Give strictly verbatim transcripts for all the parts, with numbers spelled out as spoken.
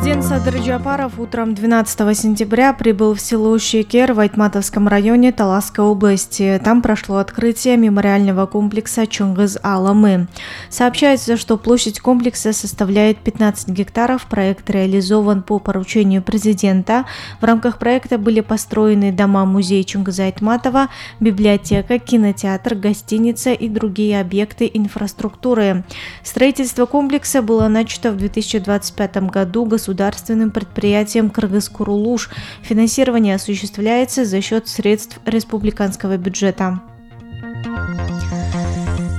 Президент Садыр Джапаров утром двенадцатого сентября прибыл в село Шекер в Айтматовском районе Таласской области. Там прошло открытие мемориального комплекса Чоңгыз Алымы. Сообщается, что площадь комплекса составляет пятнадцать гектаров. Проект реализован по поручению президента. В рамках проекта были построены дома-музей Чоңгыза Айтматова, библиотека, кинотеатр, гостиница и другие объекты инфраструктуры. Строительство комплекса было начато в две тысячи двадцать пятом году государственным предприятием «Кыргыз-Курулуш». Финансирование осуществляется за счет средств республиканского бюджета.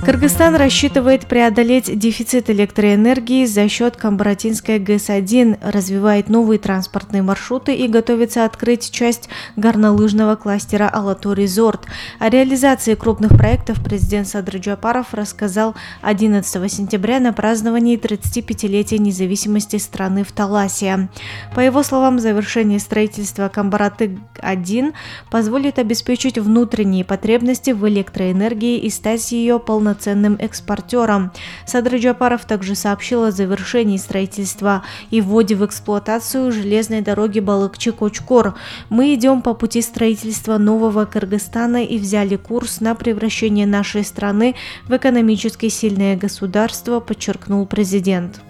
Кыргызстан рассчитывает преодолеть дефицит электроэнергии за счет Камбаратинской ГЭС один, развивает новые транспортные маршруты и готовится открыть часть горнолыжного кластера «Алату-Резорт». О реализации крупных проектов президент Садыр Джапаров рассказал одиннадцатого сентября на праздновании тридцатипятилетия независимости страны в Таласе. По его словам, завершение строительства Камбараты один позволит обеспечить внутренние потребности в электроэнергии и стать ее полноценным ценным экспортером. Садыр Джапаров также сообщил о завершении строительства и вводе в эксплуатацию железной дороги Балыкчы-Кочкор. Мы идем по пути строительства нового Кыргызстана и взяли курс на превращение нашей страны в экономически сильное государство, подчеркнул президент.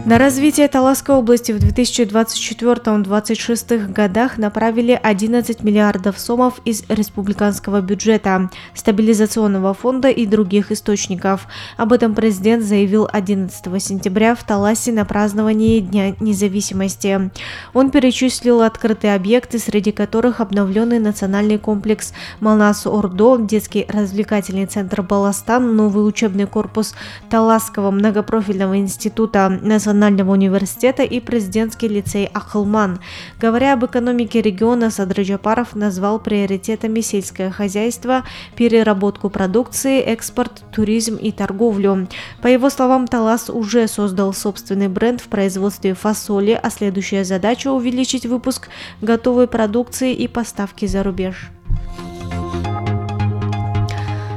На развитие Таласской области в две тысячи двадцать четвёртом — две тысячи двадцать шестом годах направили одиннадцать миллиардов сомов из республиканского бюджета, стабилизационного фонда и других источников. Об этом президент заявил одиннадцатого сентября в Таласе на праздновании Дня независимости. Он перечислил открытые объекты, среди которых обновленный национальный комплекс Манас-Ордо, детский развлекательный центр Баластан, новый учебный корпус Таласского многопрофильного института, национального университета и президентский лицей Акылман. Говоря об экономике региона, Садыр Джапаров назвал приоритетами сельское хозяйство, переработку продукции, экспорт, туризм и торговлю. По его словам, Талас уже создал собственный бренд в производстве фасоли, а следующая задача — увеличить выпуск готовой продукции и поставки за рубеж.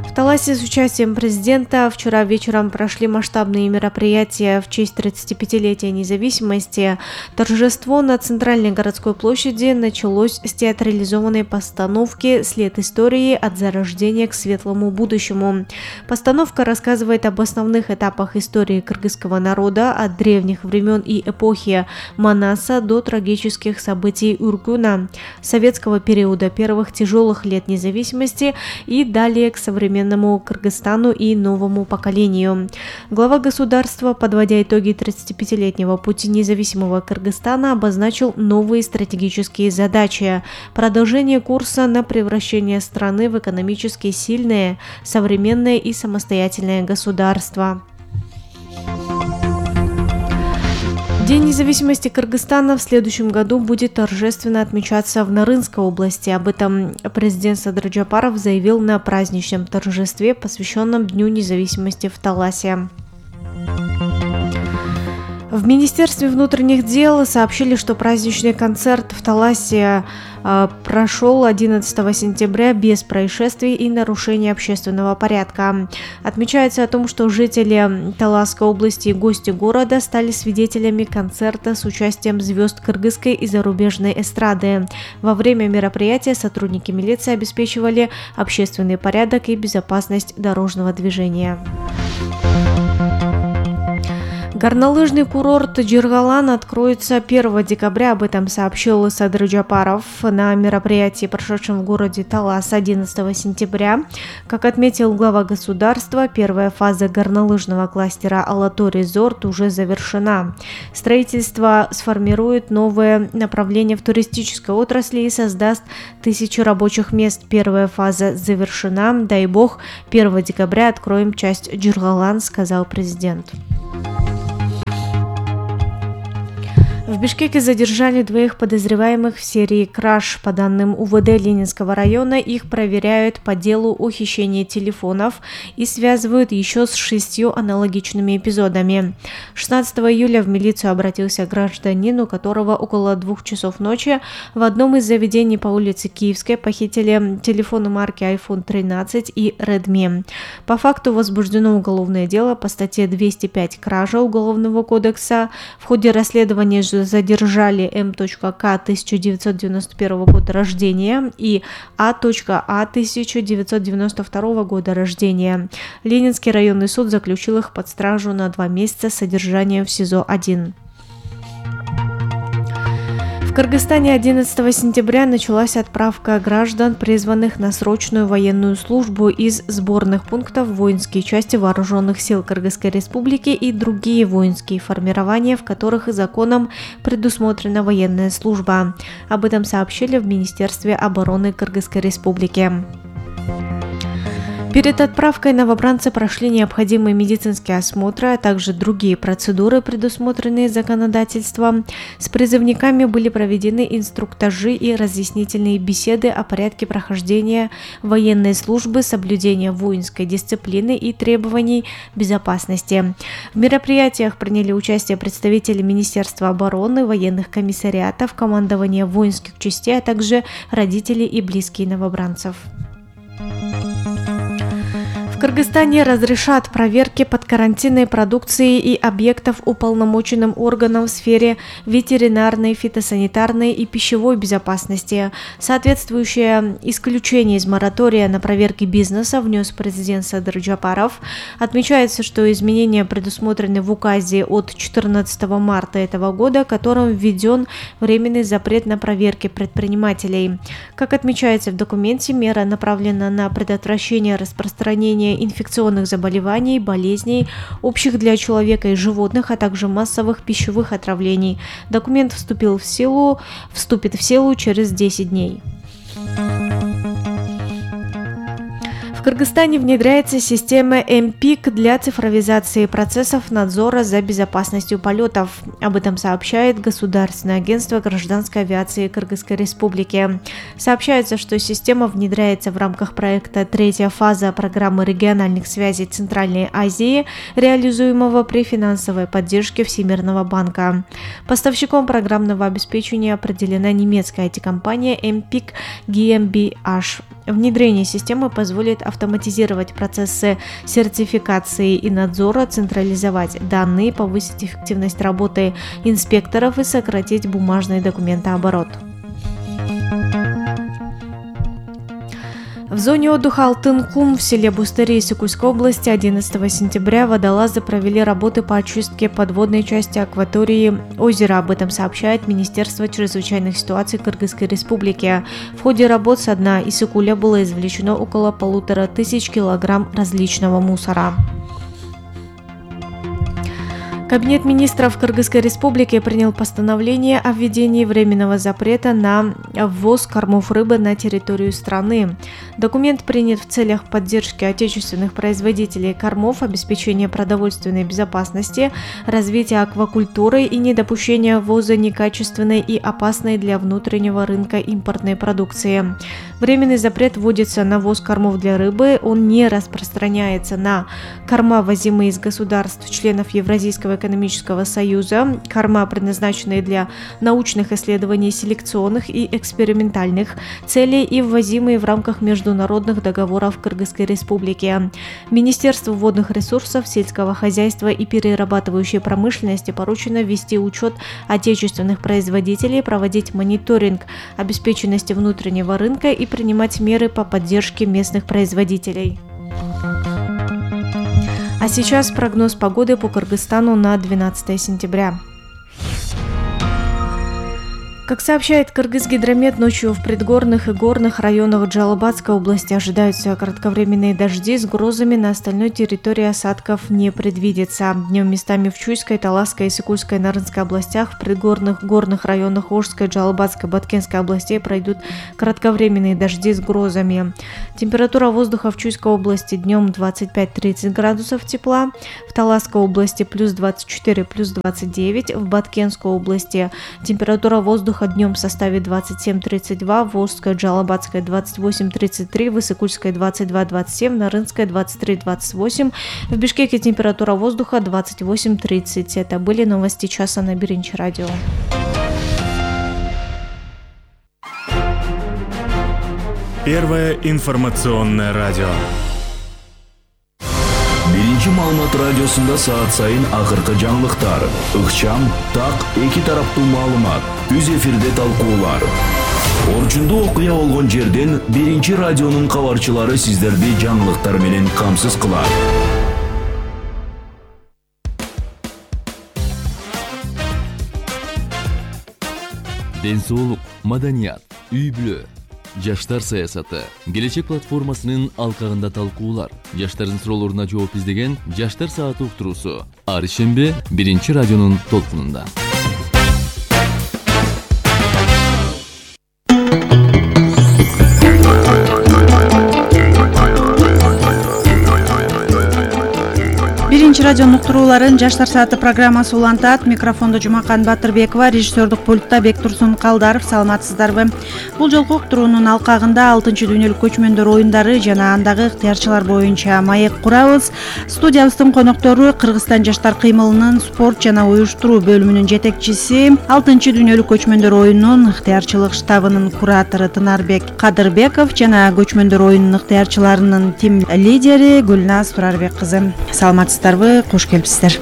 В Таласе с участием президента вчера вечером прошли масштабные мероприятия в честь тридцатипятилетия независимости. Торжество на центральной городской площади началось с театрализованной постановки «След истории. От зарождения к светлому будущему». Постановка рассказывает об основных этапах истории кыргызского народа от древних времен и эпохи Манаса до трагических событий Ургуна, советского периода, первых тяжелых лет независимости и далее к современному Кыргызстану и новому поколению. Глава государства, подводя итоги тридцатипятилетнего пути независимого Кыргызстана, обозначил новые стратегические задачи: продолжение курса на превращение страны в экономически сильное, современное и самостоятельное государство. День независимости Кыргызстана в следующем году будет торжественно отмечаться в Нарынской области. Об этом президент Садыр Джапаров заявил на праздничном торжестве, посвященном Дню независимости в Таласе. В Министерстве внутренних дел сообщили, что праздничный концерт в Таласе э, прошел одиннадцатого сентября без происшествий и нарушений общественного порядка. Отмечается о том, что жители Таласской области и гости города стали свидетелями концерта с участием звезд кыргызской и зарубежной эстрады. Во время мероприятия сотрудники милиции обеспечивали общественный порядок и безопасность дорожного движения. Горнолыжный курорт Жиргалан откроется первого декабря, об этом сообщил Садыр Джапаров на мероприятии, прошедшем в городе Талас одиннадцатого сентября. Как отметил глава государства, первая фаза горнолыжного кластера «Алату-Резорт» уже завершена. Строительство сформирует новое направление в туристической отрасли и создаст тысячи рабочих мест. Первая фаза завершена. Дай бог, первого декабря откроем часть Жиргалан, сказал президент. В Бишкеке задержали двоих подозреваемых в серии краж. По данным УВД Ленинского района, их проверяют по делу о хищении телефонов и связывают еще с шестью аналогичными эпизодами. шестнадцатого июля в милицию обратился гражданин, у которого около двух часов ночи в одном из заведений по улице Киевской похитили телефоны марки айфон тринадцать и Redmi. По факту возбуждено уголовное дело по статье двести пять «Кража» Уголовного кодекса. В ходе расследования задержали М.К. тысяча девятьсот девяносто первого года рождения и А.А. тысяча девятьсот девяносто второго года рождения. Ленинский районный суд заключил их под стражу на два месяца содержания в СИЗО один. В Кыргызстане одиннадцатого сентября началась отправка граждан, призванных на срочную военную службу из сборных пунктов в воинские части Вооруженных сил Кыргызской Республики и другие воинские формирования, в которых законом предусмотрена военная служба. Об этом сообщили в Министерстве обороны Кыргызской Республики. Перед отправкой новобранцы прошли необходимые медицинские осмотры, а также другие процедуры, предусмотренные законодательством. С призывниками были проведены инструктажи и разъяснительные беседы о порядке прохождения военной службы, соблюдения воинской дисциплины и требований безопасности. В мероприятиях приняли участие представители Министерства обороны, военных комиссариатов, командования воинских частей, а также родители и близкие новобранцев. В Кыргызстане разрешат проверки подкарантинной продукции и объектов уполномоченным органам в сфере ветеринарной, фитосанитарной и пищевой безопасности. Соответствующее исключение из моратория на проверки бизнеса внес президент Садыр Джапаров. Отмечается, что изменения предусмотрены в указе от четырнадцатого марта этого года, которым введен временный запрет на проверки предпринимателей. Как отмечается в документе, мера направлена на предотвращение распространения инфекционных заболеваний, болезней, общих для человека и животных, а также массовых пищевых отравлений. Документ вступил в силу, вступит в силу через десять дней. В Кыргызстане внедряется система эм пик для цифровизации процессов надзора за безопасностью полетов. Об этом сообщает Государственное агентство гражданской авиации Кыргызской Республики. Сообщается, что система внедряется в рамках проекта «Третья фаза» программы региональных связей Центральной Азии, реализуемого при финансовой поддержке Всемирного банка. Поставщиком программного обеспечения определена немецкая ай ти-компания эм пик джи эм би эйч. Внедрение системы позволит автоматизировать процессы сертификации и надзора, централизовать данные, повысить эффективность работы инспекторов и сократить бумажный документооборот. В зоне отдыха Алтын-Кум в селе Бустыри Исыкульской области одиннадцатого сентября водолазы провели работы по очистке подводной части акватории озера. Об этом сообщает Министерство чрезвычайных ситуаций Кыргызской Республики. В ходе работ со дна Исыкуля было извлечено около полутора тысяч килограмм различного мусора. Кабинет министров Кыргызской Республики принял постановление о введении временного запрета на ввоз кормов рыбы на территорию страны. Документ принят в целях поддержки отечественных производителей кормов, обеспечения продовольственной безопасности, развития аквакультуры и недопущения ввоза некачественной и опасной для внутреннего рынка импортной продукции. Временный запрет вводится на ввоз кормов для рыбы, он не распространяется на корма, возимые из государств-членов Евразийского экономического союза, корма, предназначенные для научных исследований, селекционных и экспериментальных целей и ввозимые в рамках международных договоров Кыргызской Республики. Министерству водных ресурсов, сельского хозяйства и перерабатывающей промышленности поручено вести учет отечественных производителей, проводить мониторинг обеспеченности внутреннего рынка и принимать меры по поддержке местных производителей. А сейчас прогноз погоды по Кыргызстану на двенадцатое сентября. Как сообщает Кыргызгидромет, ночью в предгорных и горных районах Джалабадской области ожидаются кратковременные дожди с грозами, на остальной территории осадков не предвидится. Днем местами в Чуйской, Таласской, Исыкульской, Нарынской областях, в предгорных горных районах Ошской, Джалабадской, Баткенской областей пройдут кратковременные дожди с грозами. Температура воздуха в Чуйской области днем двадцать пять - тридцать градусов тепла, в Таласской области плюс двадцать четыре - плюс двадцать девять, в Баткенской области температура воздуха днем составит двадцать семь - тридцать два, в Ошской, Джалабадской двадцать восемь - тридцать три, в Исыкульской двадцать два - двадцать семь, на Нарынской двадцать три - двадцать восемь, в Бишкеке температура воздуха двадцать восемь - тридцать. Это были новости часа на Биринчи радио. Первое информационное радио. Биринчи маалымат радиосунда саат сайын акыркы жаңылыктар, ыкчам, так, эки тараптуу маалымат, үз эфирде талкуулар. Орчундуу окуя болгон жерден Биринчи радионун кабарчылары сиздерди жаңылыктар менен камсыз кылат. Ден соолук, маданият, үй-бүлө, жаштар саясаты, келечек платформасынын алкагында талкуулар, жаштардын суроолоруна жооп издеген Жаштар сааты уктуруусу ар шембе Биринчи радионун толкунунда. Биринчи радионун уктурууларын Жаштар сааты программасы улантат. Микрофондо Жумакан Батырбекова, режиссердук пультта Бектурсун Калдаров. Саламатсыздарбы? Бул жолку уктуруунун алкагында алтынчы дүйнөлүк көчмөндөр оюндары жана андагы ыктыярчылар боюнча маек курабыз. Студиябыздын коноктору Кыргызстан жаштар кыймылынын спорт жана уюштуруу бөлүмүнүн жетекчиси, алтынчы дүйнөлүк көчмөндөр оюнунун ыктыярчылык штабынын куратору Тынарбек Кадырбеков жана көчмөндөр оюнунун ыктыярчыларынын тим лидери Гүлназ Турарбек кызы. Саламатсыздарбы? Кош келипсиздер.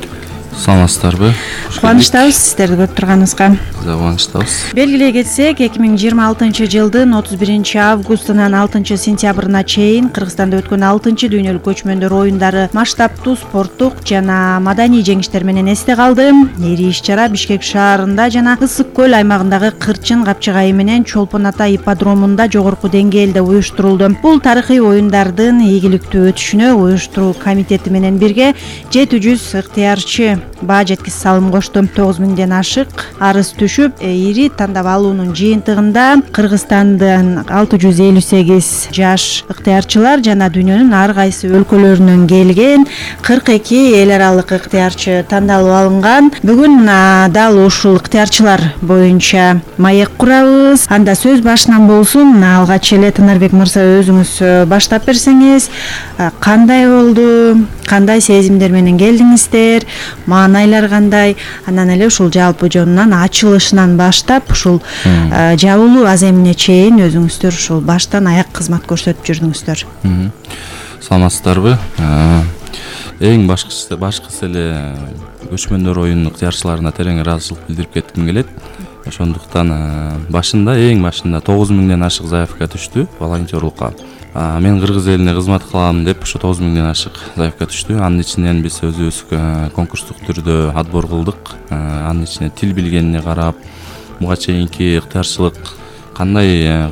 Саламатсыздарбы? Кубанычтабыз сиздерди көрүп турганыбызга. Кубанычтабыз. Белгилей кетсек, эки миң жыйырма алтынчы жылдын отуз биринчи августунан алтынчы сентябрына чейин Кыргызстанда өткөн алтынчы дүйнөлүк көчмөндөр оюндары масштабтуу спорттук жана маданий жеңиштер менен эсте калды. Ири иш-чара Бишкек шаарында жана Ысык көл аймагындагы Кырчын капчыгайы менен Чолпон ата ипподромунда жогорку деңгээлде уюштурулду. Бул тарыхый оюндардын ийгиликтүү өтүшүнө уюштуруу комитети менен бирге жети жүз ыктыярчы баа жеткис салым кошту. тогуз миңден ашык арыз түшүп, ири тандап алуунун жыйынтыгында Кыргызстандын алты жүз элүү сегиз жаш ыктыярчылар жана дүйнөнүн ар кайсы өлкөлөрүнөн келген кырк эки эл аралык ыктыярчы тандалып алынган. Бүгүн дал ушул ыктыярчылар боюнча маек курабыз. Анда сөз башынан болсун. Алгач эле Тынарбек мырза, өзүңүз баштап берсеңиз, кандай болду, кандай сезимдер менен келдиңиздер, маанайлар кандай, анан эле ушул жалпы жонунан ачылышынан баштап ушул жабылуу аземине чейин өзүңүздөр ушул баштан аяк кызмат көрсөтүп жүрдүңүздөр. Саламатсыздарбы? Эң башкысы башкысы эле көчмөндөр оюнунун ыктыярчыларына терең ыраазычылык билдирип кетким келет. Ошондуктан башында эң башында тогуз миңден ашык заявка түштү волонтерлукка. Мен кыргыз элине кызмат кылам деп ушу тогуз миңден ашык заявка түштү. Анын ичинен биз өзүбүз конкурстук түрдө отбор кылдык. Анын ичине тил билгенине карап, буга чейинки ыктыярчылык кандай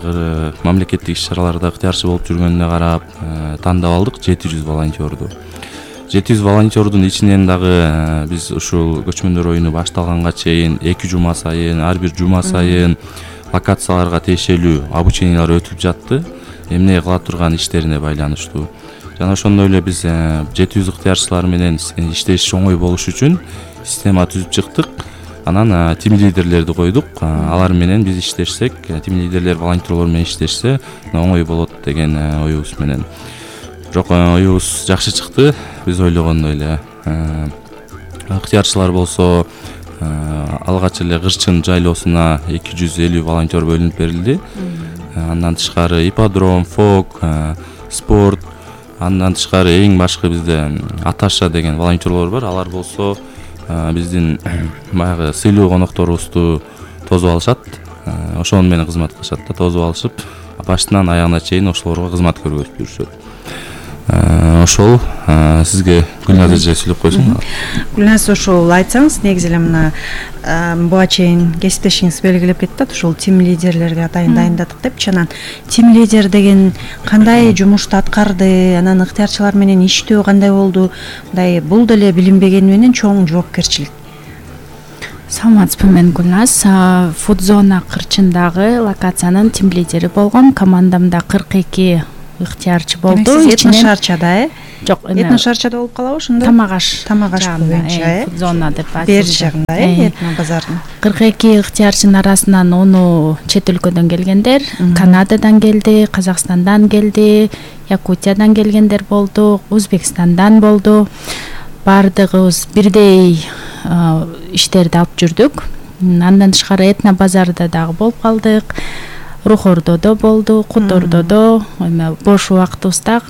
мамлекеттик иш-чараларда ыктыярчы болуп жүргөнүнө карап тандап алдык жети жүз волонтерду. жети жүз волонтердун ичинен дагы биз ушул көчмөндөр оюну башталганга чейин эки жума сайын, ар бир жума сайын локацияларга тиешелүү обучениялар өтүп жатты. Эмне кыла турган иштерине байланыштуу. Жана ошондой эле биз жети жүз ыктыярчылар менен иштеш оңой болуш үчүн система түзүп чыктык. Анан тим лидерлерди койдук. Алар менен биз иштешсек, тим лидерлер волонтерлор менен иштешсе оңой болот деген оюбуз менен. Бирок оюбуз жакшы чыкты. Биз ойлогондой эле. Ыктыярчылар болсо алгач эле Кырчын жайлоосуна эки жүз элүү волонтер бөлүнүп берилди. Андан тышкары ипподром, фок, спорт, андан тышкары эң башкы бизде Аташа деген волонтерлор бар. Алар болсо биздин баягы сыйлуу конокторубузду тосуп алышат. Ошону менен кызмат кылышат да, тосуп алышып, башынан аягына чейин ошолорго кызмат көрсөтүп жүрүшөт. ошол сизге Гүлназ эже сүйлөп койсун. Гүлназ, ошол айтсаңыз, негизи эле мына буга чейин кесиптешиңиз белгилеп кетти, ушул тим лидерлерге атайын дайындадык депчи. Анан тим лидер деген кандай жумушту аткарды, анан ыктыярчылар менен иштөө кандай болду? Мындай бул деле билинбегени менен чоң жоопкерчилик. Саламатсызбы, мен Гүлназ. Фудзона кырчындагы локациянын тим лидери болгом. Командамда кырк эки ыктыярчы болду. Этно шарчада, э? Жок, этно шарчада болуп калабы ошондо? Тамагаш. Тамагаш боюнча, э? Фудзона деп айтылат. Бер жагында, э, этно базардын. кырк эки ыктыярчынын арасынан ону чет өлкөдөн келгендер, Канададан келди, Казакстандан келди, Якутиядан келгендер болду, Өзбекстандан болду. Бардыгыбыз бирдей иштерди алып жүрдүк. Андан тышкары этно базарда дагы болуп калдык. Рухордодо болду, Кутордодо, эме бош убактыбызда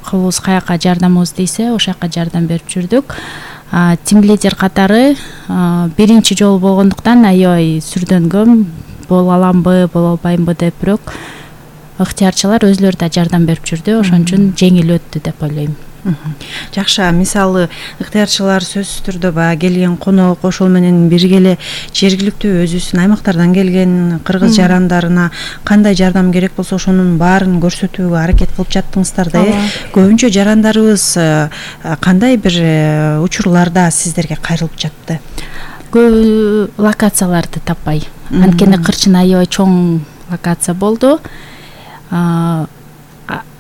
кулубуз каяка жардамыбыз дейсе, ошол жака жардам берип жүрдүк. Тим лидер катары биринчи жолу болгондуктан аябай сүрдөнгөм, боло аламбы, боло албаймбы деп, бирок ыктыярчылар өзүлөрү да жардам берип жүрдү, ошон үчүн жеңил өттү деп ойлойм. Жакшы, мисалы ыктыярчылар сөзсүз түрдө баягы келген конок, ошол менен бирге эле жергиликтүү өзүбүздүн аймактардан келген кыргыз жарандарына кандай жардам керек болсо ошонун баарын көрсөтүүгө аракет кылып жаттыңыздар да, э? Көбүнчө жарандарыбыз кандай бир учурларда сиздерге кайрылып жатты? Көп локацияларды таппай. Анткени кырчын аябай чоң локация болду.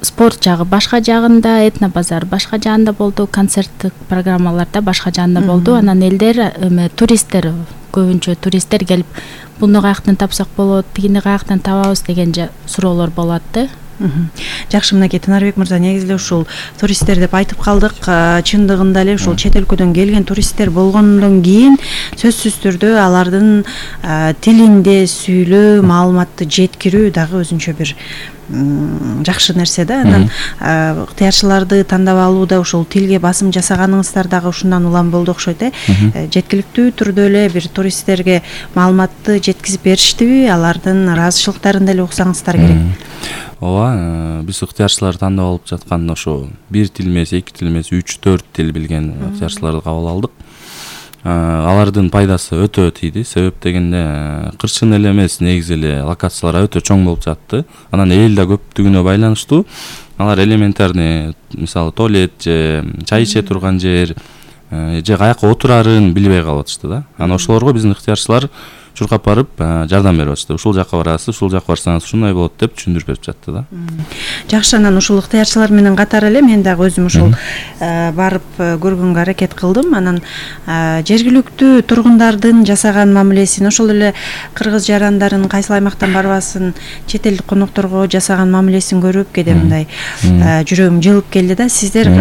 Спорт жагы башка жагында, этно базар башка жагында болду, концерттик программаларда башка жагында болду. Анан элдер, эме туристтер, көбүнчө туристтер келип, буну каяктан тапсак болот, тигини каяктан табабыз деген суроолор болот да. Жакшы, мынакей Тынарбек мырза, негизи эле ушул туристтер деп айтып калдык. Чындыгында эле ушул чет өлкөдөн келген туристтер болгондон кийин сөзсүз түрдө алардын тилинде сүйлөө, маалыматты жеткирүү дагы өзүнчө бир жакшы нерсе да. Анан ыктыярчыларды тандап алууда ушул тилге басым жасаганыңыздар дагы ушундан улам болду окшойт, э? Жеткиликтүү түрдө эле бир туристтерге маалыматты жеткизип бериштиби, алардын ыраазычылыктарын деле уксаңыздар керек. Ооба, биз ыктыярчылар тандап алып жаткан ошо бир тил эмес, эки тил эмес, үч төрт тил билген ыктыярчыларды кабыл алдык. Алардын пайдасы өтө тийди. Себеп дегенде кырчын эле эмес, негизи эле локациялар өтө чоң болуп жатты. Анан эл да көптүгүнө байланыштуу. Алар элементарный, мисалы туалет же чай иче турган жер же каяка отурарын билбей калып атышты да. Анан ошолорго биздин ыктыярчылар чуркап барып жардам берип атышты. Ушул жака барасыз, ушул жака барсаңыз ушундай болот деп түшүндүрүп берип жатты да. Жакшы, анан ушул ыктыярчылар менен катар эле мен дагы өзүм ушул барып көргөнгө аракет кылдым. Анан жергиликтүү тургундардын жасаган мамилесин, ошол эле кыргыз жарандарын кайсыл аймактан барбасын, чет элдик конокторго жасаган мамилесин көрүп кээде мындай жүрөгүм жылып келди да. Сиздер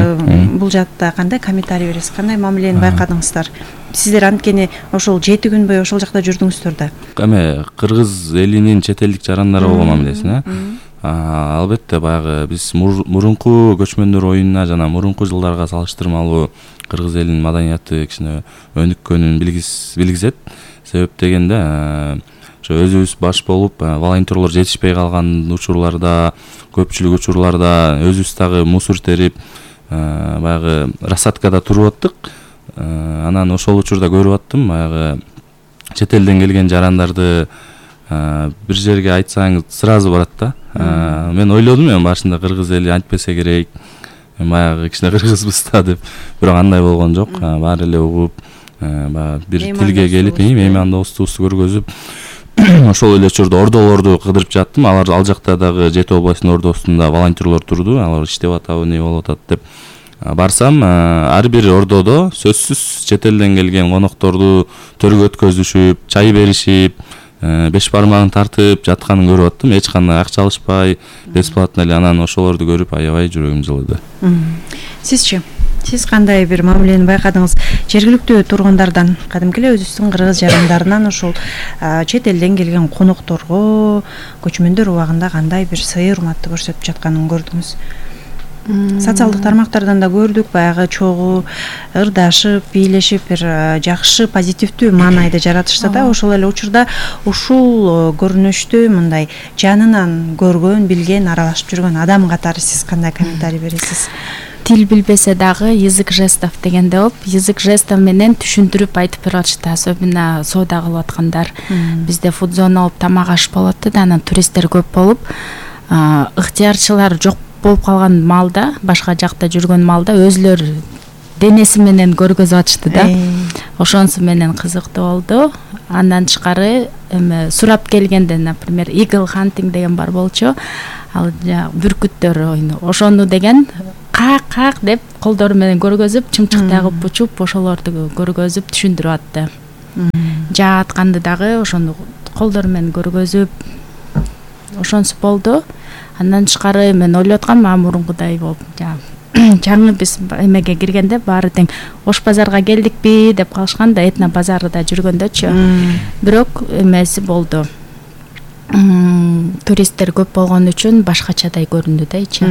бул жакта кандай комментарий бересиз? Кандай мамилени байкадыңыздар? Сиздер анткени ошол жети күн бою ошол жакта жүрдүңүздөр да. Эме кыргыз элинин чет элдик жарандары болгон мамилесин, э? Албетте баягы биз мурунку көчмөндөр оюнуна жана мурунку жылдарга салыштырмалуу кыргыз элинин маданияты кичине өнүккөнүн билгизет. Себеп дегенде ошо өзүбүз баш болуп волонтерлор жетишпей калган учурларда, көпчүлүк учурларда өзүбүз дагы мусор терип, баягы рассадкада туруп аттык. Анан ошол учурда көрүп аттым, баягы чет элден келген жарандарды бир жерге айтсаңыз сразу барат да. Мен ойлодум, мен башында кыргыз эли антпесе керек, баягы кичине кыргызбыз да деп, бирок андай болгон жок. Баары эле угуп, баягы бир тилге келип, меймандостугубузду көргөзүп, ошол эле учурда ордолорду кыдырып жаттым. Алар ал жакта дагы Жети областынын ордосунда волонтерлор турду, алар иштеп атабы, эмне болуп атат деп барсам, ар бир ордодо сөзсүз чет элден келген конокторду төргө өткөзүшүп, чай беришип, беш бармагын тартып жатканын көрүп аттым. Эч кандай акча алышпай, бесплатно эле. Анан ошолорду көрүп аябай жүрөгүм жылыды. Сизчи? Сиз кандай бир мамилени байкадыңыз? Жергиликтүү тургундардан, кадимки эле өзүбүздүн кыргыз жарандарынан ушул чет элден келген конокторго көчмөндөр убагында кандай бир сый урматты көрсөтүп жатканын көрдүңүз? Социалдык тармактардан да көрдүк, баягы чогуу ырдашып, бийлешип, бир жакшы позитивдүү маанайды жаратышты да. Ошол эле учурда ушул көрүнүштү мындай жанынан көргөн, билген, аралашып жүргөн адам катары сиз кандай комментарий бересиз? тил билбесе дагы язык жестов дегенде болуп, язык жестов менен түшүндүрүп айтып беришти, особенно соода кылып аткандар. Бизде фудзона болуп тамак аш болот да, анан туристтер көп болуп, ыктыярчылар жок болуп калган маалда, башка жакта жүргөн маалда өзүлөр денеси менен көргөзүп атышты да. Ошонусу менен кызыктуу болду. Андан тышкары эме сурап келгенде, например, eagle hunting деген бар болчу. Ал бүркүттөр ойну. Ошону деген как-как деп колдору менен көргөзүп, чымчыктай кылып учуп, ошолорду көргөзүп түшүндүрүп атты. Жаа атканды дагы ошону колдору менен көргөзүп, ошонусу болду. Андан тышкары мен ойлоп аткам, а мурункудай болуп, жаңы биз эмеге киргенде баары тең Ош базарга келдикпи деп калышкан да, Этно базарында жүргөндөчү. Бирок эмеси болду. Туристтер көп болгон үчүн башкачадай көрүндү да ичи.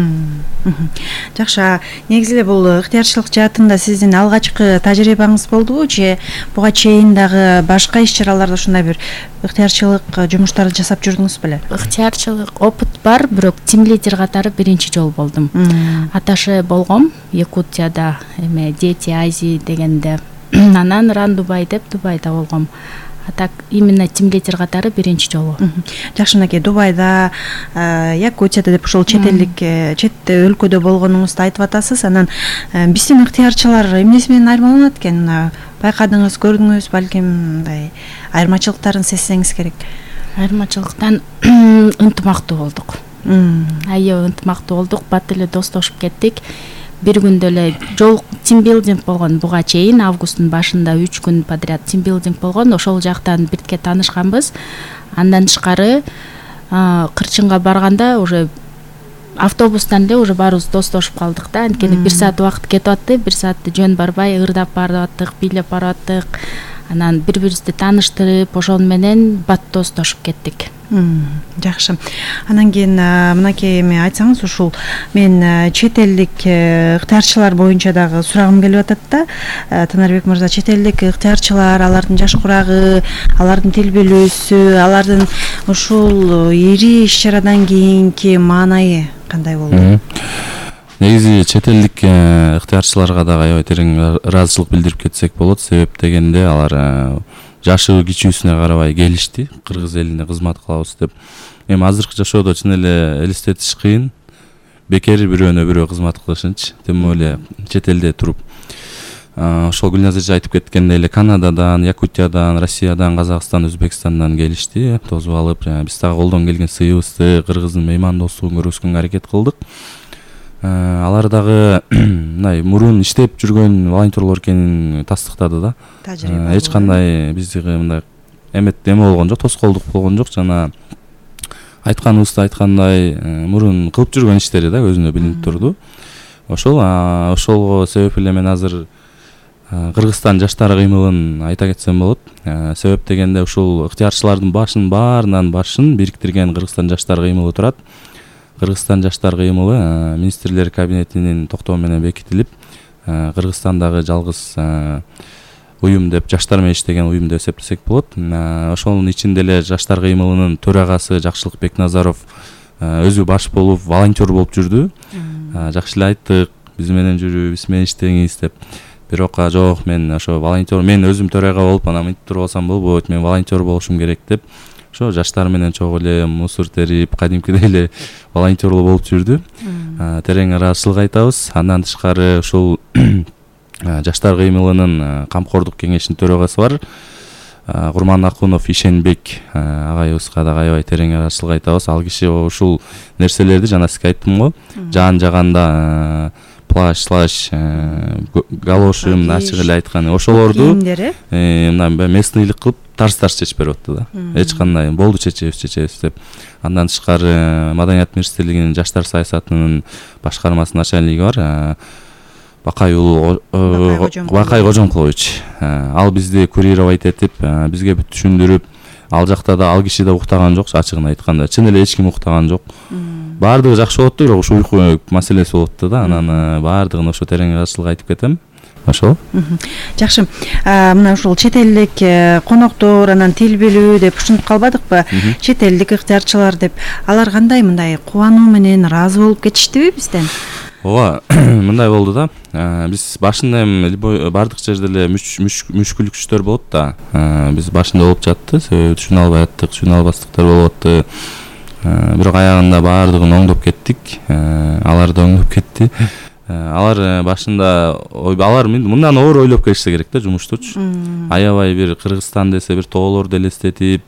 Жакшы. Негизи эле бул ыктыярчылык жаатында сиздин алгачкы тажрыйбаңыз болдубу же буга чейин дагы башка иш-чараларда ушундай бир ыктыярчылык жумуштарды жасап жүрдүңүз беле? Ыктыярчылык опыт бар, бирок тим лидер катары биринчи жолу болдум. Аташе болгом Якутияда, эме Дети Азии дегенде. Анан Ран Дубай деп Дубайда болгом. А так именно тим лидер катары биринчи жолу. Жакшы, мынакей Дубайда, Якутияда деп ушул чет элдик, чет өлкөдө болгонуңузду айтып атасыз. Анан биздин ыктыярчылар эмнеси менен айырмаланат экен? Байкадыңыз, көрдүңүз, балким мындай айырмачылыктарын сезсеңиз керек. Айырмачылыктан ынтымактуу болдук. Аябай ынтымактуу болдук, бат эле достошуп кеттик. Бир күндө эле жол тимбилдинг болгон, буга чейин августтун башында үч күн подряд тимбилдинг болгон. Ошол жактан бирге таанышканбыз. Андан тышкары Кырчынга барганда уже автобустан эле уже баарыбыз достошуп калдык да. Анткени бир саат убакыт кетип атты, бир саатты жөн барбай ырдап барып аттык, бийлеп барып аттык. Анан бири-бирибизди тааныштырып, ошон менен бат достошуп кеттик. Жакшы. Анан кийин мынакей эме айтсаңыз, ушул мен чет элдик ыктыярчылар боюнча дагы сурагым келип атат да. Танарбек мырза, чет элдик ыктыярчылар, алардын жаш курагы, алардын тил билүүсү, алардын ушул ири иш-чарадан кийинки маанайы кандай болду? Негизи чет элдик ыктыярчыларга дагы аябай терең ыраазычылык билдирип кетсек болот. Себеп дегенде алар жашы кичүүсүнө карабай келишти, кыргыз элине кызмат кылабыз деп. Эми азыркы жашоодо чын эле элестетиш кыйын. Бекер бирөөнө бирөө кызмат кылышынчы, тем более чет элде туруп. Ошол Гүлназар эже айтып кеткендей эле Канададан, Якутиядан, Россиядан, Казакстан, Өзбекстандан келишти, тосуп алып, биз дагы колдон келген сыйыбызды, кыргыздын меймандостугун көргөзгөнгө аракет кылдык. Алар дагы мындай мурун иштеп жүргөн волонтерлор экенин тастыктады да. Эч кандай бизге мындай эмет эме болгон жок, тоскоолдук болгон жок. Жана айтканыбызды айткандай мурун кылып жүргөн иштери да өзүнө билинип турду. Ошол ошолго себеп эле мен азыр Кыргызстан жаштары кыймылын айта кетсем болот. Себеп дегенде ушул ыктыярчылардын башын баарынан башын бириктирген Кыргызстан жаштары кыймылы турат. Кыргызстан жаштар кыймылы министрлер кабинетинин токтому менен бекитилип, Кыргызстандагы жалгыз уюм деп, жаштар менен иштеген уюм деп эсептесек болот. Ошонун ичинде эле жаштар кыймылынын төрагасы Жакшылык Бекназаров өзү баш болуп, волонтер болуп жүрдү. Жакшы эле айттык, биз менен жүрүп, биз менен иштеңиз деп. Бирок жок, мен ошо волонтер, мен өзүм төрага болуп, анан мынтип туруп алсам болбойт, мен волонтер болушум керек деп. Ошо жаштар менен чогуу эле мусор терип, кадимкидей эле волонтерлоо болуп жүрдү. Терең ыраазычылык айтабыз. Андан тышкары ушул жаштар кыймылынын камкордук кеңешинин төрагасы бар. Курман Акунов Ишенбек агайыбызга дагы аябай терең ыраазычылык айтабыз. Ал киши ушул нерселерди жана сизге айттым го, жаан жаганда плащ, слаш, галоши, ачык эле айткан ошолорду мындай местныйлык кылып тарс-тарс чечип берип атты да. Эч кандай болду чечебиз, чечебиз деп. Андан тышкары Маданият министрлигинин жаштар саясатынын башкармасынын начальниги бар. Бакай уулу Бакай Кожомкулович. Ал бизди курировать этип, бизге бүт түшүндүрүп, ал жакта да ал киши да уктаган жок, ачыгын айтканда. Чын эле эч ким уктаган жок. Баардыгы жакшы болот, бирок ушу уйку маселеси болот да. Анан баардыгын ошо терең ыраазычылык айтып кетем. Ошол. Жакшы. Мына ушул чет элдик коноктор, анан тил билүү деп ушинтип калбадыкпы? Чет элдик ыктыярчылар деп алар кандай мындай кубануу менен ыраазы болуп кетиштиби бизден? ооба мындай болду да. Биз башында эми бардык жерде эле мүшкүлүктөр болот да. Биз башында болуп жатты, себеби түшүнө албай аттык, түшүнө албастыктар болуп атты. Бирок аягында баардыгын оңдоп кеттик. Алар да оңдоп кетти. Алар башында алар мындан оор ойлоп келишсе керек да жумуштучу. Аябай бир Кыргызстан десе бир тоолорду элестетип,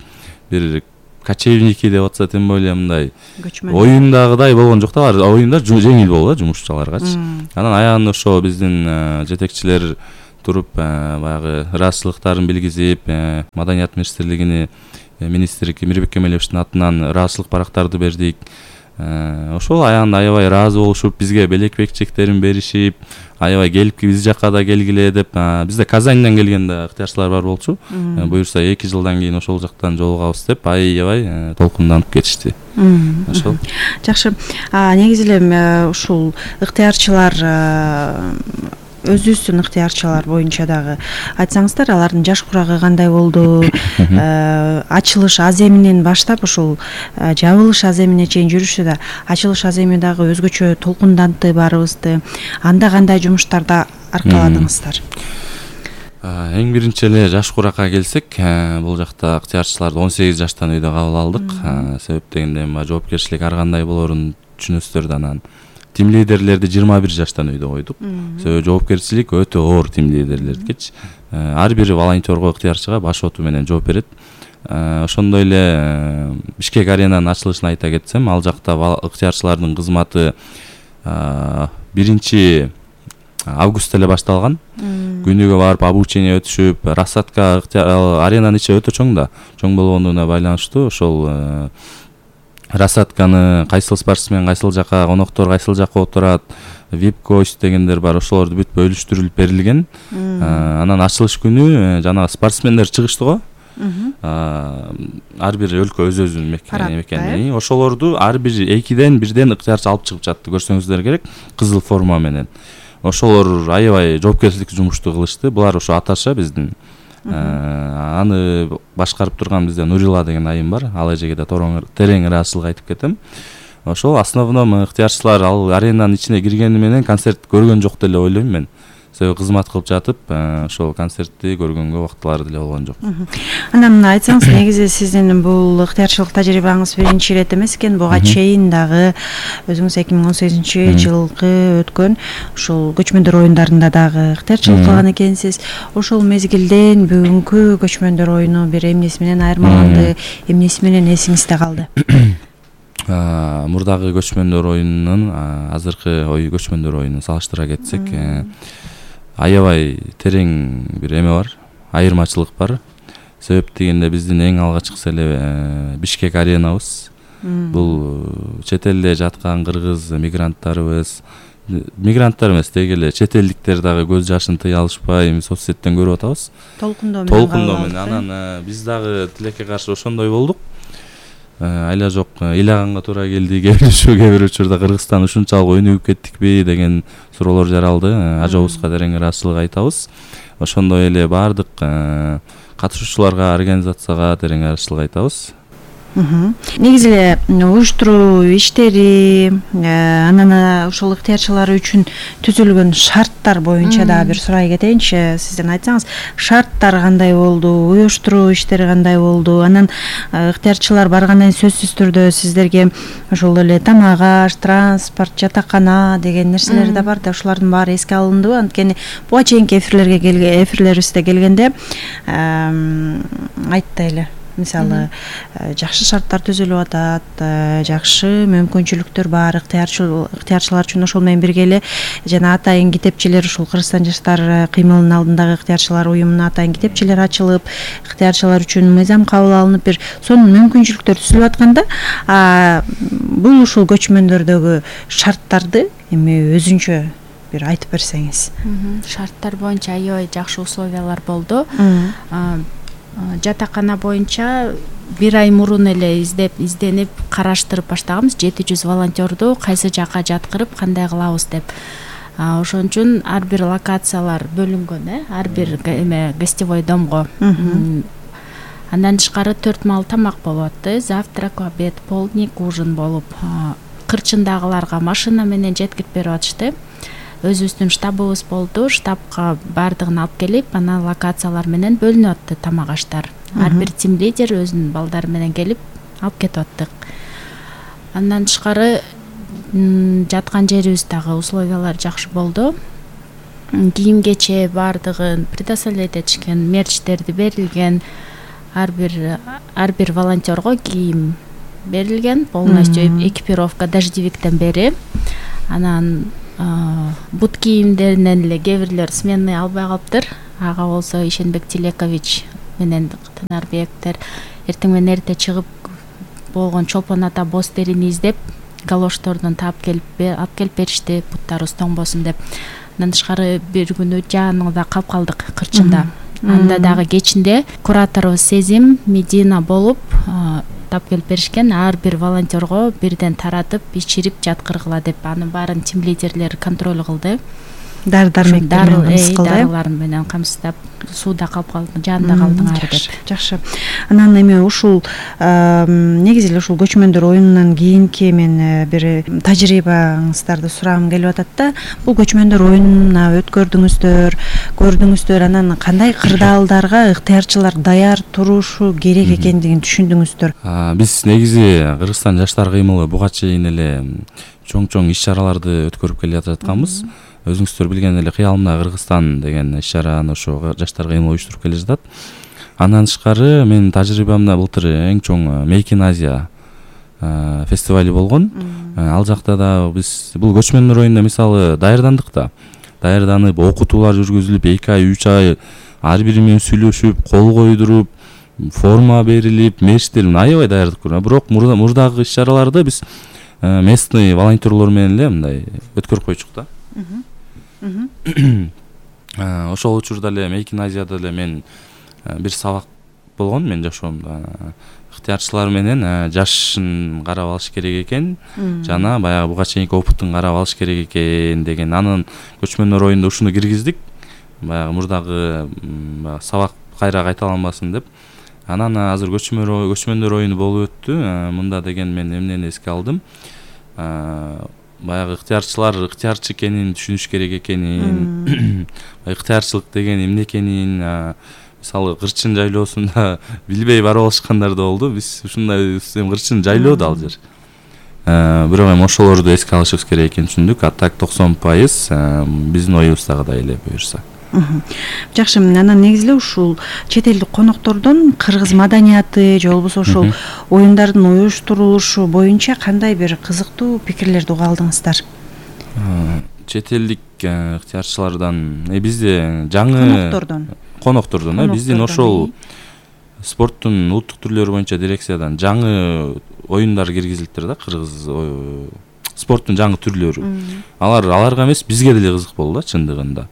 бир кочевники деп атса тем более мындай оюндагыдай болгон жок да. Алар оюнда жеңил болду да жумушчуларгачы. Анан аягында ошо биздин жетекчилер туруп баягы ыраазычылыктарын билгизип, Маданият министрлигине министр Мирбек Кемелевичтин атынан ыраазычылык барактарды бердик. Ошол аягында аябай ыраазы болушуп, бизге белек-бекчектерин беришип, аябай келип биз жакка да келгиле деп. Бизде Казаньдан келген да ыктыярчылар бар болчу. Буюрса эки жылдан кийин ошол жактан жолугабыз деп аябай толкунданып кетишти. Ошол. Жакшы. Негизи эле ушул ыктыярчылар өзүбүздүн ыктыярчылар боюнча дагы айтсаңыздар, алардын жаш курагы кандай болду? Ачылыш аземинен баштап ушул жабылыш аземине чейин жүрүштү да. Ачылыш аземи дагы өзгөчө толкундантты баарыбызды. Анда кандай жумуштарда аркаладыңыздар? Эң биринчи эле жаш куракка келсек, бул жакта ыктыярчыларды он сегиз жаштан үйдө кабыл алдык. Себеп дегенде жоопкерчилик ар кандай болорун түшүнөсүздөр да. Анан тим лидерлерди жыйырма бир жаштан үйдө койдук. Себеби жоопкерчилик өтө оор тим лидерлердикичи. Ар бир волонтерго, ыктыярчыга баш оту менен жооп берет. Ошондой эле Бишкек аренанын ачылышын айта кетсем, ал жакта ыктыярчылардын кызматы биринчи августта эле башталган. Күнүгө барып обучение өтүшүп, рассадка аренанын ичи өтө чоң да. Чоң болгондугуна байланыштуу ошол рассадканы кайсыл спортсмен кайсыл жака, коноктор кайсыл жака отурат, вип гость дегендер бар, ошолорду бүт бөлүштүрүлүп берилген. Анан ачылыш күнү жана спортсмендер чыгышты го. Ар бир өлкө өз-өзүнүн мекени. Ошолорду ар бир экиден бирден ыктыярчы алып чыгып жатты, көрсөңүздөр керек, кызыл форма менен. Ошолор аябай жоопкерчиликтүү жумушту кылышты. Булар ошо аташа биздин. Аны башкарып турган бизде Нурила деген айым бар. Ал эжеге терең ыраазычылык айтып кетем. Ошол основном ыктыярчылар ал аренанын ичине киргени менен концерт көргөн жок деле ойлойм мен. Себеби кызмат кылып жатып, ошол концертти көргөнгө убактылары деле болгон жок. Анан айтсаңыз, негизи сиздин бул ыктыярчылык тажрыйбаңыз биринчи ирет эмес экен. Буга чейин дагы өзүңүз эки миң он сегизинчи жылкы өткөн ушул көчмөндөр оюндарында дагы ыктыярчылык кылган экенсиз. Ошол мезгилден бүгүнкү көчмөндөр оюну бир эмнеси менен айырмаланды, эмнеси менен эсиңизде калды? Мурдагы көчмөндөр оюнунун азыркы ой көчмөндөр оюнун салыштыра кетсек, аябай терең бир эме бар, айырмачылык бар. Себеп дегенде биздин эң алгачкысы эле Бишкек аренабыз. Бул чет элде жаткан кыргыз мигранттарыбыз, мигранттар эмес, деги эле чет элдиктер дагы көз жашын тыя алышпай соц сеттен көрүп атабыз. Толкундоо менен. Толкундоо менен. Анан биз дагы тилекке каршы ошондой болдук. Айла жок, ыйлаганга туура келди, кээ бир учурда Кыргызстан ушунчалык өнүгүп кеттикпи деген суроолор жаралды. Ажобузга терең ыраазычылык айтабыз. Ошондой эле баардык катышуучуларга, организацияга терең ыраазычылык айтабыз. Негизи эле уюштуруу иштери, анан ошол ыктыярчылар үчүн түзүлгөн шарттар боюнча дагы бир сурай кетейинчи. Сизден айтсаңыз, шарттар кандай болду, уюштуруу иштери кандай болду? Анан ыктыярчылар баргандан кийин сөзсүз түрдө сиздерге ошол эле тамак аш, транспорт, жатакана деген нерселер да бар да, ошолордун баары эске алындыбы? Анткени буга чейинки эфирлерге келген эфирлерибизде келгенде айтты эле. Мисалы, жакшы шарттар түзүлүп атат, жакшы мүмкүнчүлүктөр бар ыктыярчылар үчүн. Ошол менен бирге эле жана атайын китепчелер, ушул Кыргызстан жаштар кыймылынын алдындагы ыктыярчылар уюмуна атайын китепчелер ачылып, ыктыярчылар үчүн мыйзам кабыл алынып, бир сонун мүмкүнчүлүктөр түзүлүп атканда, бул ушул көчмөндөрдөгү шарттарды эми өзүнчө бир айтып берсеңиз. Шарттар боюнча аябай жакшы условиялар болду. Жатакана боюнча бир ай мурун эле издеп, изденип, караштырып баштаганбыз. жети жүз волонтерду кайсы жака жаткырып, кандай кылабыз деп. Ошон үчүн ар бир локациялар бөлүнгөн, э, ар бир эме гостевой домго. Андан тышкары төрт маал тамак болот, завтрак, обед, полдник, ужин болуп, кырчындагыларга машина менен жеткирип берип атышты. Өзүбүздүн штабыбыз болду. Штабка баардыгын алып келип, анан локациялар менен бөлүнүп атты тамак аштар. Ар бир тим лидер өзүнүн балдары менен келип алып кетип аттык. Андан тышкары жаткан жерибиз дагы условиялар жакшы болду. Кийим кече баардыгын предоставлять этишкен, мерчтерди берилген. Ар бир ар бир волонтерго кийим берилген, полностью экипировка дождевиктен бери. Анан бут кийимдеринен эле кээ бирлер сменный албай калыптыр. Ага болсо Ишенбек Тилекович менен Танарбектер эртең менен эрте чыгып болгон чолпон ата боз терини издеп, галоштордон таап келип алып келип беришти, буттарыбыз тоңбосун деп. Андан тышкары бир күнү жааныңда калып калдык кырчында. Анда дагы кечинде кураторубуз Сезим Медина болуп таап келип беришкен. Ар бир волонтерго бирден таратып, ичирип жаткыргыла деп анын баарын тим лидерлери контроль кылды. Дары-дармек менен дарылар менен камсыздап, сууда калып калды, жанында калдыңар деп. Жакшы. Анан эми ушул негизи эле ушул көчмөндөр оюнунан кийинки мен бир тажрыйбаңыздарды сурагым келип атат да. Бул көчмөндөр оюнуна өткөрдүңүздөр, көрдүңүздөр, анан кандай кырдаалдарга ыктыярчылар даяр турушу керек экендигин түшүндүңүздөр? Биз негизи Кыргызстан жаштар кыймылы буга чейин эле чоң-чоң иш-чараларды өткөрүп келе жатканбыз. Өзүңүздөр билген эле Кыялымда Кыргызстан деген иш-чараны ошо жаштар кыймылы уюштуруп келе жатат. Андан тышкары менин тажрыйбамда былтыр эң чоң Make in Asia фестивали болгон. Ал жакта да биз бул көчмөндөр оюнуна мисалы даярдандык да. Даярданып, окутуулар жүргүзүлүп, эки ай, үч ай ар бири менен сүйлөшүп, кол койдуруп, форма берилип, мерчтер аябай даярдык көрүнөт. Бирок мурдагы иш-чараларды биз местный волонтерлор менен эле мындай өткөрүп койчук да. Ошол учурда эле Make in Asia'да эле мен бир сабак болгон, мен жашоомдо ыктыярчылар менен жашын карап алыш керек экен, жана баягы буга чейинки опыттун карап алыш керек экен деген анын көчмөндөр оюнда ушуну киргиздик. Баягы мурдагы сабак кайра кайталанбасын деп. Анан азыр көчмөндөр оюну болуп өттү. Мында деген мен эмнени эске алдым? Баягы ыктыярчылар ыктыярчы экенин түшүнүш керек экенин, ыктыярчылык деген эмне экенин, мисалы кырчын жайлоосунда билбей барып алышкандар да болду. Биз ушундай кырчын жайлоо да ал жер. Бирок эми ошолорду эске алышыбыз керек экенин түшүндүк. А так токсон пайыз биздин оюбуздагыдай эле буюрса. Жакшы, анан негизи эле ушул чет элдик коноктордон кыргыз маданияты же болбосо ошол оюндардын уюштурулушу боюнча кандай бир кызыктуу пикирлерди уга алдыңыздар? Чет элдик ыктыярчылардан бизде жаңы коноктордон коноктордон биздин ошол спорттун улуттук түрлөрү боюнча дирекциядан жаңы оюндар киргизилиптир да, кыргыз спорттун жаңы түрлөрү. Алар аларга эмес, бизге деле кызык болду да чындыгында.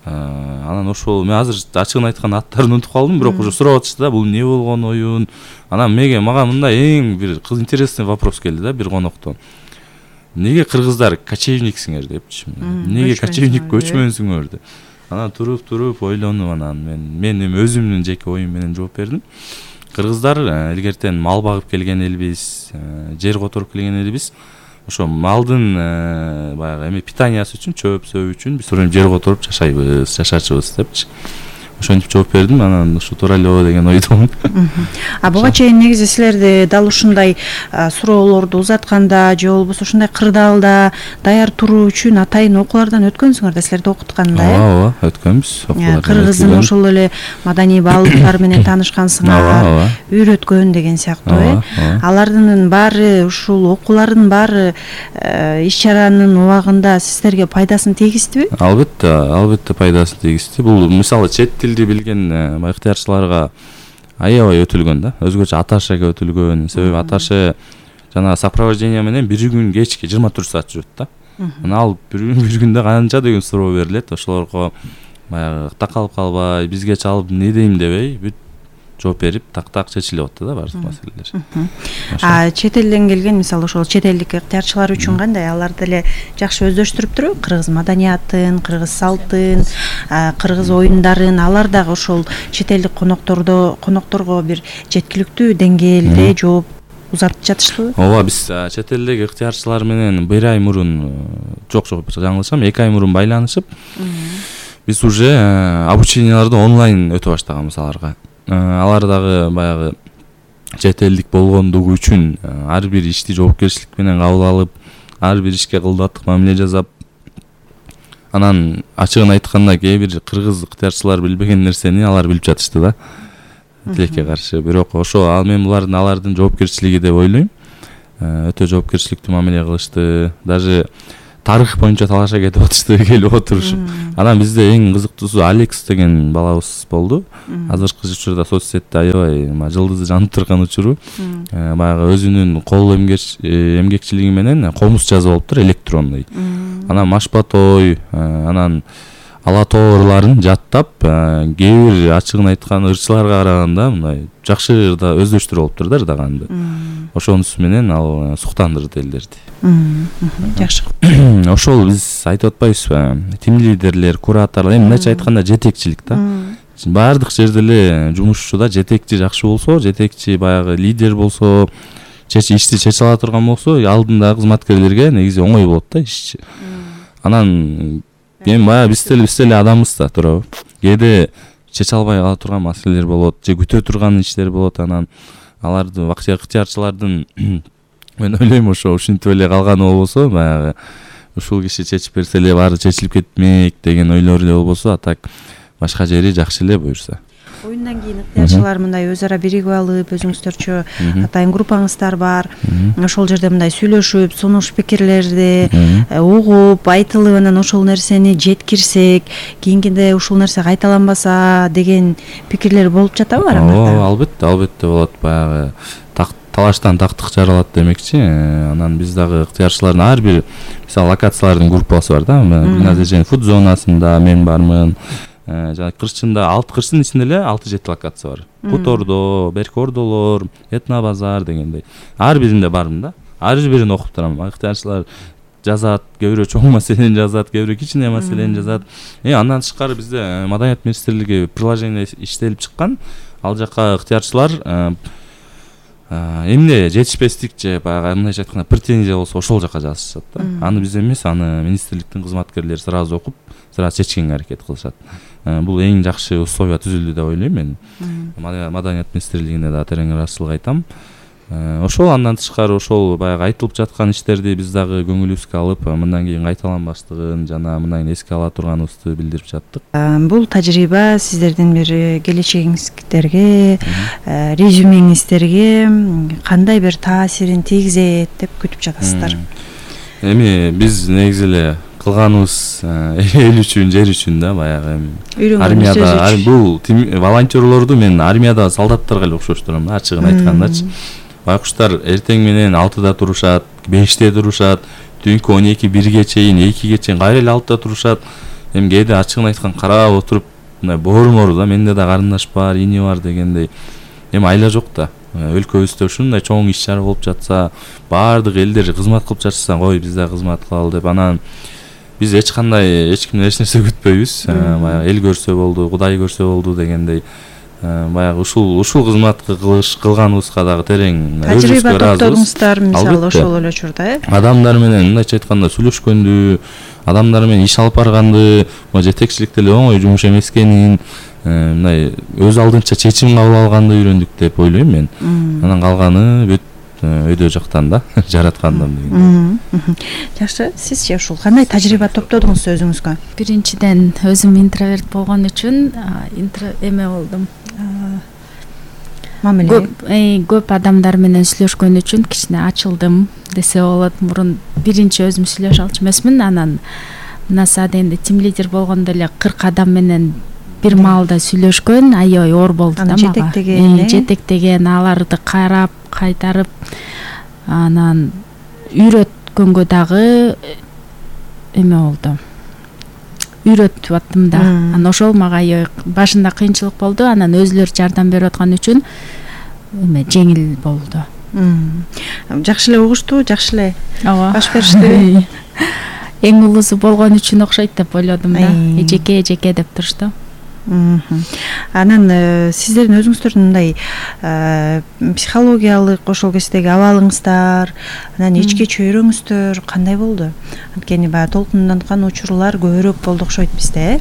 Анан ошол мен азыр ачыгын айткан аттарын унутуп калдым, бирок уже сурап атышты да, бул эмне болгон оюн. Анан мега мага мындай эң бир интересный вопрос келди да бир коноктон. Неге кыргыздар кочевниксиңер депчи. Неге кочевник көчмөнсүңөр деп. Анан туруп туруп ойлонуп анан мен мен эми өзүмдүн жеке оюм менен жооп бердим. Кыргыздар илгертен мал багып келген элбиз, жер которуп келген элбиз. Ошо малдын баягы эми питаниясы үчүн, чөп сөбү үчүн биз жер которуп жашайбыз, жашачыбыз депчи. Ошентип жооп бердим, анан ушу туура эле деген ойдомун. А буга чейин негизи силерди дал ушундай суроолорду узатканда же болбосо ушундай кырдаалда даяр туруу үчүн атайын окуулардан өткөнсүңөр да, силерди окутканда, э? Ооба, өткөнбүз. Кыргыздын ошол эле маданий баалуулуктары менен таанышкансыңар, үйрөткөн деген сыяктуу, э? Алардын баары, ушул окуулардын баары иш-чаранын убагында сиздерге пайдасын тийгиздиби? Албетте, албетте пайдасын тийгизди. Бул мисалы чет тилди билген ыктыярчыларга аябай өтүлгөн да. Өзгөчө аташага өтүлгөн. Себеби аташы жана сопровождение менен бир күн кечки жыйырма төрт саат жүрөт да. Анан ал бир күндө канча деген суроо берилет. Ошолорго баягы такалып калбай, бизге чалып не дейм дебей, бүт жооп берип, так-так чечилип атты да баардык маселелер. А чет элден келген, мисалы ошол чет элдик ыктыярчылар үчүн кандай? Алар деле жакшы өздөштүрүптүрбү? Кыргыз маданиятын, кыргыз салтын, кыргыз оюндарын, алар дагы ошол чет элдик коноктордо конокторго бир жеткиликтүү деңгээлде жооп узартып жатыштыбы? Ооба, биз чет элдеги ыктыярчылар менен бир ай мурун, жок жок жаңылышам, эки ай мурун байланышып, биз уже обученияларды онлайн өтө баштаганбыз аларга. Алар дагы баягы чет элдик болгондугу үчүн ар бир ишти жоопкерчилик менен кабыл алып, ар бир ишке кылдаттык мамиле жасап, анан ачыгын айтканда кээ бир кыргыз ыктыярчылар билбеген нерсени алар билип жатышты да, тилекке каршы. Бирок ошо ал мен булардын алардын жоопкерчилиги деп ойлойм. Өтө жоопкерчиликтүү мамиле кылышты. Даже тарых боюнча талаша кетип атышты, келип отурушуп. Анан бизде эң кызыктуусу Алекс деген балабыз болду. Азыркы учурда соц сетте аябай жылдызы жанып турган учуру. Баягы өзүнүн кол эмгекчилиги менен комуз жазып алыптыр, электронный. Анан машпатой, анан ала тоорларын жаттап, кээ бир ачыгын айткан ырчыларга караганда мындай жакшы ырда өздөштүрүп алыптыр да ырдаганды. Ошонусу менен ал суктандырды элдерди. Жакшы. Ошол биз айтып атпайбызбы? Тим лидерлер, кураторлор, эми мындайча айтканда жетекчилик да. Баардык жерде эле жумушчуда жетекчи жакшы болсо, жетекчи баягы лидер болсо, чечи ишти чече ала турган болсо, алдындагы кызматкерлерге негизи оңой болот да иш. Анан эми баягы биз деле биз деле адамбыз да, туурабы? Кээде чече албай кала турган маселелер болот, же күтө турган иштер болот. Анан аларды вакытча ыктыярчылардын мен ойлойм ошо ушинтип эле калганы болбосо, баягы ушул киши чечип берсе эле баары чечилип кетмек деген ойлор эле болбосо, а так башка жери жакшы эле буюрса. Оюндан кийин ыктыярчылар мындай өз ара биригип алып, өзүңүздөрчө атайын группаңыздар бар. Ошол жерде мындай сүйлөшүп, сунуш пикирлерди угуп, айтылып, анан ошол нерсени жеткирсек, кийинкиде ушул нерсе кайталанбаса деген пикирлер болуп жатабы арамызда? Ооба, албетте, албетте болот. Баягы талаштан тактык жаралат демекчи. Анан биз дагы ыктыярчылардын ар бир мисалы локациялардын группасы бар да. Гүлназар фуд зонасында мен бармын. Жана Кырчында алты Кырчтын ичинде эле алты жети локация бар. Кутордо, Беркордолор, Этно базар дегендей. Ар биринде бармын да. Ар бирин окуп турам. Ыктыярчылар жазат, кээ бирөө чоң маселени жазат, кээ бирөө кичине маселени жазат. Э андан тышкары бизде Маданият министрлиги приложение иштелип чыккан. Ал жакка ыктыярчылар эмне жетишпестик же баягы мындайча айтканда претензия болсо ошол жака жазышат да. Аны биз эмес, аны министрликтин кызматкерлери сразу окуп, сразу чечкенге аракет кылышат. Бул эң жакшы условия түзүлдү деп ойлойм мен. Маданият министрлигине да терең ыраазычылык айтам. Ошол андан тышкары ошол баягы айтылып жаткан иштерди биз дагы көңүлүбүзгө алып, мындан кийин кайталанбаштыгын жана мындан эске ала турганыбызды билдирип жаттык. Бул тажрыйба сиздердин бир келечегиңиздерге, резюмеңиздерге кандай бир таасирин тийгизет деп күтүп жатасыздар? Эми биз негизи эле кылганыбыз эл үчүн, жер үчүн да, баягы армияда бул волонтерлорду мен армияда солдаттарга эле окшоштурам да, ачыгын айткандачы. Байкуштар эртең менен алтыда турушат, беште турушат, түнкү он эки бирге чейин, экиге чейин кайра эле алтыда турушат. Эми кээде ачыгын айткан карап отуруп, мындай боорумор да, менде да карындаш бар, ини бар дегендей. Эми айла жок да. Өлкөбүздө ушундай чоң иш чара болуп жатса, баардык элдер кызмат кылып жатса, кой биз да кызмат кылалы деп, анан биз эч кандай эч кимден эч нерсе күтпөйбүз. Баягы эл көрсө болду, Кудай көрсө болду дегендей. Баягы ушул ушул кызматты кылыш кылганыбызга дагы терең тажрыйба топтодуңуздар, мисалы ошол эле учурда, э? Адамдар менен мындайча айтканда сүйлөшкөндү, адамдар менен иш алып барганды, жетекчиликте эле оңой жумуш эмес экенин, мындай өз алдынча чечим кабыл алганды үйрөндүк деп ойлойм мен. Анан калганы бүт өйдө жактан да, жараткандан деген. Жакшы, сизчи ушул кандай тажрыйба топтодуңуз өзүңүзгө? Биринчиден өзүм интроверт болгон үчүн эме болдум. Мамиле көп адамдар менен сүйлөшкөн үчүн кичине ачылдым десе болот. Мурун биринчи өзүм сүйлөшө алчу эмесмин, анан мына саат энди тим лидер болгондо эле кырк адам менен бир маалда сүйлөшкөн, аябай оор болду да мага. Жетектеген, жетектеген, аларды карап, кайтарып, анан үйрөткөнгө дагы эме болду. Үйрөтүп аттым да. Анан ошол мага аябай башында кыйынчылык болду, анан өзүлөр жардам берип аткан үчүн эме жеңил болду. Жакшы эле угушту, жакшы эле баш беришти. Эң улуусу болгон үчүн окшойт деп ойлодум да. Эжеке эжеке деп турушту. Анан сиздердин өзүңүздөрдүн мындай психологиялык ошол кездеги абалыңыздар, анан ички чөйрөңүздөр кандай болду? Анткени баягы толкунданткан учурлар көбүрөөк болду окшойт бизде, э?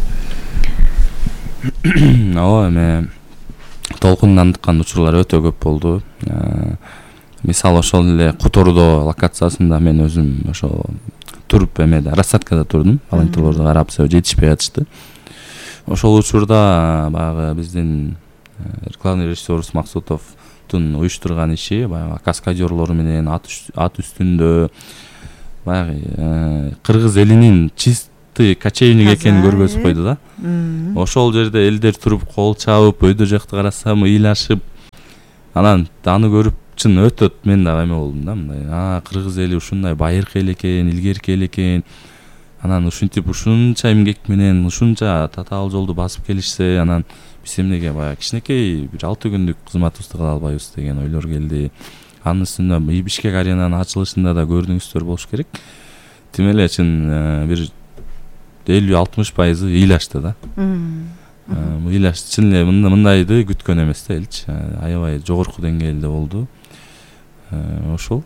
Ооба, эме толкунданткан учурлар өтө көп болду. Мисалы ошол эле Котордо локациясында мен өзүм ошо туруп эмеде рассадкада турдум. Волонтерлорду карап себеби жетишпей атышты. Ошол учурда баягы биздин главный режиссер Максутовдун уюштурган иши баягы каскадерлор менен ат үстүндө баягы кыргыз элинин чистый кочевник экенин көргөзүп койду да. Ошол жерде элдер туруп кол чабып, өйдө жакты карасам ыйлашып, анан аны көрүп чын өтө мен дагы эме болдум да, мындай а кыргыз эли ушундай байыркы эл экен, илгерки эл экен. Анан ушинтип ушунча эмгек менен ушунча татаал жолду басып келишсе, анан биз эмнеге баягы кичинекей бир алты күндүк кызматыбызды кыла албайбыз деген ойлор келди. Анын үстүнө Бишкек аренанын ачылышында да көрдүңүздөр болуш керек. Тим эле чын бир элүү алтымыш пайызы ыйлашты да. Ыйлаш чын эле мындайды күткөн эмес да элчи. Аябай жогорку деңгээлде болду. Ошол.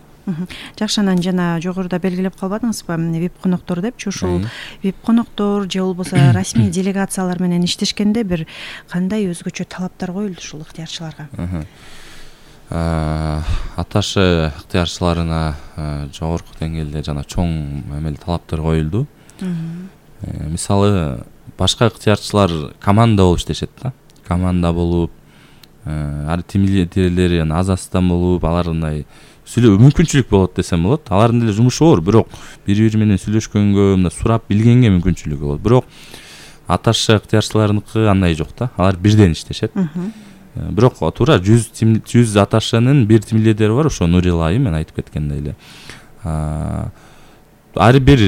Жакшы, анан жана жогоруда белгилеп калбадыңызбы, вип коноктор депчи, ушул вип коноктор же болбосо расмий делегациялар менен иштешкенде бир кандай өзгөчө талаптар коюлду ушул ыктыярчыларга? Аташы ыктыярчыларына жогорку деңгээлде жана чоң эмел талаптар коюлду. Мисалы башка ыктыярчылар команда болуп иштешет да. Команда болуп, ар тим лидерлери аз астан болуп, алардай сүйлөө мүмкүнчүлүк болот десем болот. Алардын деле жумушу оор, бирок бири-бири менен сүйлөшкөнгө, мына сурап билгенге мүмкүнчүлүгү болот. Бирок аташы ыктыярчыларыныкы андай жок да. Алар бирден иштешет. Бирок туура жүз жүз аташынын бир тим лидери бар, ошо Нурилай, мен айтып кеткендей эле. Ар бир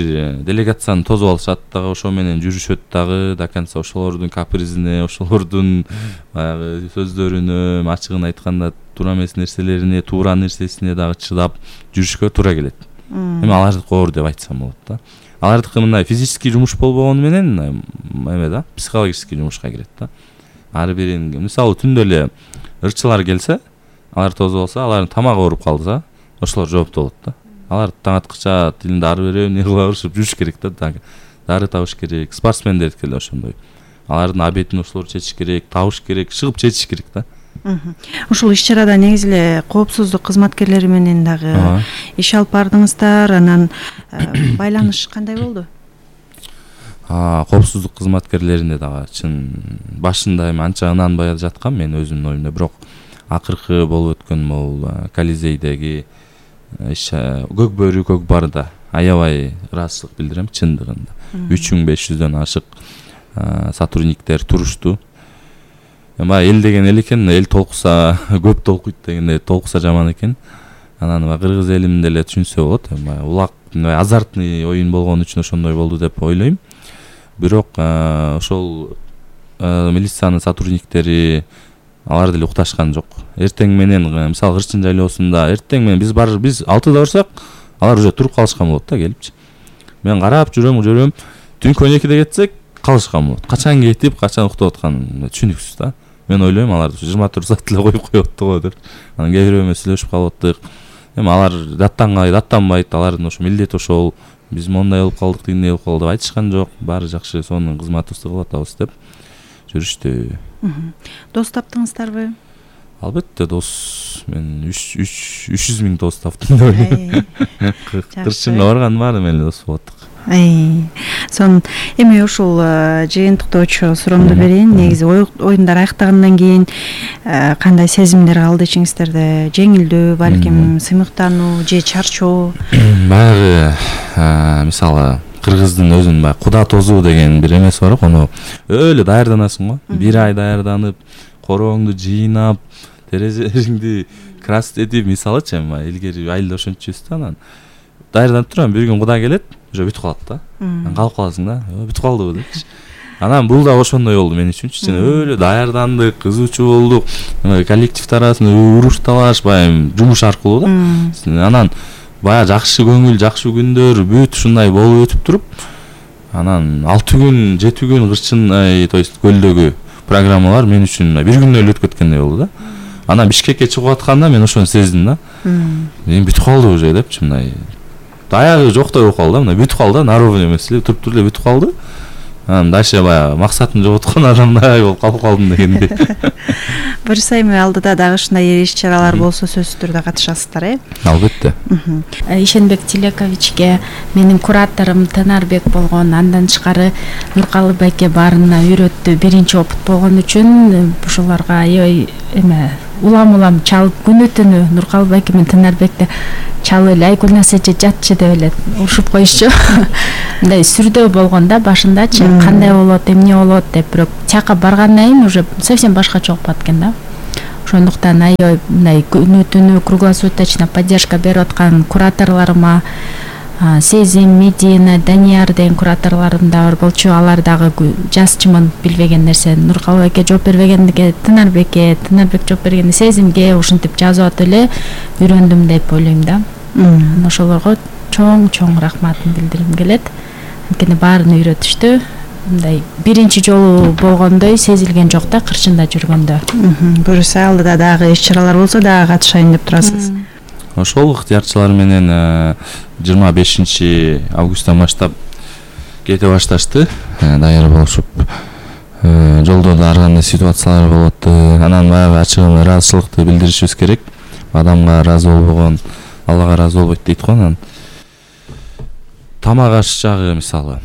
делегацияны тосуп алышат дагы, ошо менен жүрүшөт дагы, до конца ошолордун капризине, ошолордун баягы сөздөрүнө, ачыгын айтканда туура эмес нерселерине, туура нерсесине дагы чыдап жүрүшкө туура келет. Эми алардыкы оор деп айтсам болот да. Алардыкы мындай физический жумуш болбогону менен эме да, психологический жумушка кирет да. Ар бирин мисалы түндө эле ырчылар келсе, алар тосуп алса, алардын тамагы ооруп калса, ошолор жоопту болот да. Алар таң аткыча тилин дары берип, не кыла беришип жүрүш керек да. Дары табыш керек. Спортсмендер деле ошондой. Алардын обедин ошолор чечиш керек, табыш керек, чыгып чечиш керек да. Ушул иш-чарада негизи эле коопсуздук кызматкерлери менен дагы иш алып бардыңыздар, анан байланыш кандай болду? Коопсуздук кызматкерлеринде дагы чын башында эми анча ынанбай жаткам мен өзүмдүн оюмда, бирок акыркы болуп өткөн могул Колизейдеги көк бөрү көк барда аябай ыраазычылык билдирем чындыгында. үч миң беш жүздөн ашык сотрудниктер турушту. Эми эл деген эл экен, эл толкуса көп толкуйт дегенде толкуса жаман экен. Анан кыргыз элим деле түшүнсө болот. Эми улак азартный оюн болгон үчүн ошондой болду деп ойлойм. Бирок ошол милициянын сотрудниктери алар деле укташкан жок. Эртең менен мисалы Кырчын жайлоосунда эртең менен биз бар биз алтыда барсак, алар уже туруп калышкан болот да келипчи. Мен карап жүрөм, жүрөм. Түнкү он экиде кетсек, калышкан болот. Качан кетип, качан уктап атканын түшүнүксүз да. Мен ойлойм алар жыйырма төрт саат эле коюп коёпту го деп. Анан кээ бирөө менен сүйлөшүп калып аттык. Эми алар даттангай, даттанбайт, алардын ошо милдети ошол. Биз мондай болуп калдык, тигиндей болуп калды деп айтышкан жок. Баары жакшы, сонун кызматыбызды кылып атабыз деп жүрүштү. Дос таптыңыздарбы? Албетте дос. Мен үч жүз миң дос таптым деп ойлойм. Кырчынга барган баары менен дос болдук. Сон эми ушул жыйынтыктоочу суроомду берейин. Негизи оюндар аяктагандан кийин кандай сезимдер калды ичиңиздерде? Жеңилдүү, балким сыймыктануу же чарчоо? Баягы мисалы кыргыздын өзүнүн баягы куда тозуу деген бир эмеси бар, аны өлө даярданасың го. Бир ай даярданып, корооңду жыйнап, терезелериңди краситип, мисалычы эми илгери айылда ошончубуз да, анан даярданып турам, бир күн куда келет, уже бүтүп калат да. Анан калып каласың да, бүтүп калдыбы депчи. Анан бул да ошондой болду мен үчүнчү. Өлө даярдандык, кызуучу болдук. Коллектив арасында уруш талаш, баягы жумуш аркылуу да. Анан баягы жакшы көңүл, жакшы күндөр бүт ушундай болуп өтүп туруп, анан алты күн, жети күн Кырчын, то есть көлдөгү программалар мен үчүн бир күндө эле өтүп кеткендей болду да. Анан Бишкекке чыгып атканда мен ошону сездим да. Мен бүтүп калды уже депчи, мындай аягы жоктой болуп калды да, мындай бүтүп калды, наровный эмес эле, туруп туруп эле бүтүп калды. Анан дальше баягы максатын жоготкон адамдай болуп калып калдым дегендей. Буюрса эми алдыда дагы ушундай иш чаралар болсо сөзсүз түрдө катышасыздар, э? Албетте. Ишенбек Тилековичке менин кураторум Тынарбек болгон, андан тышкары Нуркалы байке баарына үйрөттү. Биринчи опыт болгон үчүн ушуларга аябай эме улам улам чалып күнү түнү Нуркалы байке менен Тынарбекти чалып эле, ай Гүлнаса эже жатчы деп эле урушуп коюшчу. Мындай сүрдөө болгон да башындачы, кандай болот, эмне болот деп, бирок тияка баргандан кийин уже совсем башкача болуп калат экен да. Ошондуктан аябай мындай күнү түнү круглосуточно поддержка берип аткан кураторлорума, Сезим, Медина, Данияр деген кураторлорум да бар болчу. Алар дагы жазчымын билбеген нерсе Нуркалы байке жооп бербегендиге Тынарбекке, Тынарбек жооп бергенде Сезимге ушинтип жазып атып эле үйрөндүм деп ойлойм да. Ошолорго чоң-чоң рахматын билдиргим келет. Анткени баарын үйрөтүштү. Мындай биринчи жолу болгондой сезилген жок да, кырчында жүргөндө. Буюрса алдыда дагы иш чаралар болсо дагы катышайын деп турасыз. Ошол ыктыярчылар менен жыйырма бешинчи августтан баштап кете башташты. Даяр болушуп, жолдо да ар кандай ситуациялар болот. Анан баягы ачыгын ыраазычылыкты билдиришибиз керек. Адамга ыраазы болбогон Аллага ыраазы болбойт дейт го. Анан тамак аш жагы мисалы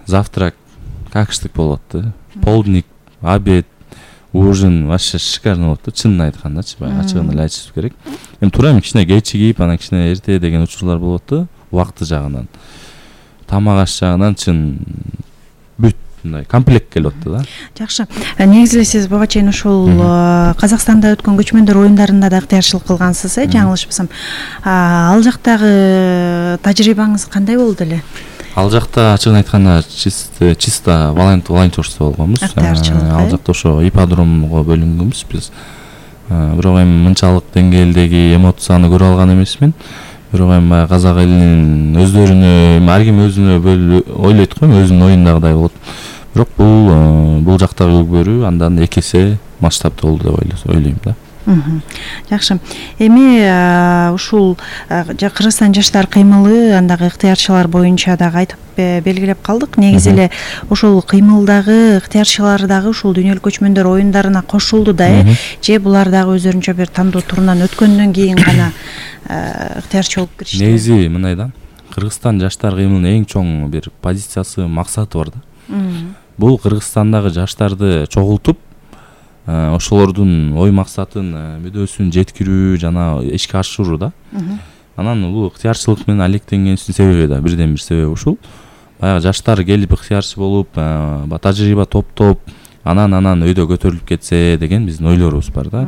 завтрак какштык болот да. Полдник, обед, ужин вообще шикарно болот да, чынын айткандачы, баягы ачыгын эле айтышыбыз керек. Эми туура эми кичине кечигип, анан кичине эрте деген учурлар болот да, убакыты жагынан. Тамак аш жагынан чын бүт мындай комплект келип атты да. Жакшы. Негизи эле сиз буга чейин ушул Казакстанда өткөн көчмөндөр оюндарында да ыктыярчылык кылгансыз, э, жаңылышпасам. Ал жактагы тажрыйбаңыз кандай болду эле? Ал жакта ачыгын айтканда чисто чисто волонтерство болгонбуз. Ал жакта ошо ипподромго бөлүнгөнбүз биз. Бирок эми мынчалык деңгээлдеги эмоцияны көрө алган эмесмин. Бирок эми баягы казак элинин өздөрүнө, ар ким өзүнө ойлойт го, өзүнүн оюндагыдай болот. Бирок бул бул жактагы өгбөрү андан эки эсе масштабтуу болду деп ойлойм да. Жакшы. Эми ушул Кыргызстан жаштар кыймылы андагы ыктыярчылар боюнча дагы айтып белгилеп калдык. Негизи эле ошол кыймылдагы ыктыярчылар дагы ушул дүйнөлүк көчмөндөр оюндарына кошулду да, э? Же булар дагы өздөрүнчө бир тандоо турунан өткөндөн кийин гана ыктыярчы болуп киришти? Негизи мындай да. Кыргызстан жаштар кыймылынын эң чоң бир позициясы, максаты бар да. Бул Кыргызстандагы жаштарды чогултуп, ошолордун ой максатын, мүдөөсүн жеткирүү жана ишке ашыруу да. Анан бул ыктыярчылык менен алектенгенибиздин себеби да, бирден бир себеби ушул. Баягы жаштар келип ыктыярчы болуп, тажрыйба топтоп, анан анан өйдө көтөрүлүп кетсе деген биздин ойлорубуз бар да.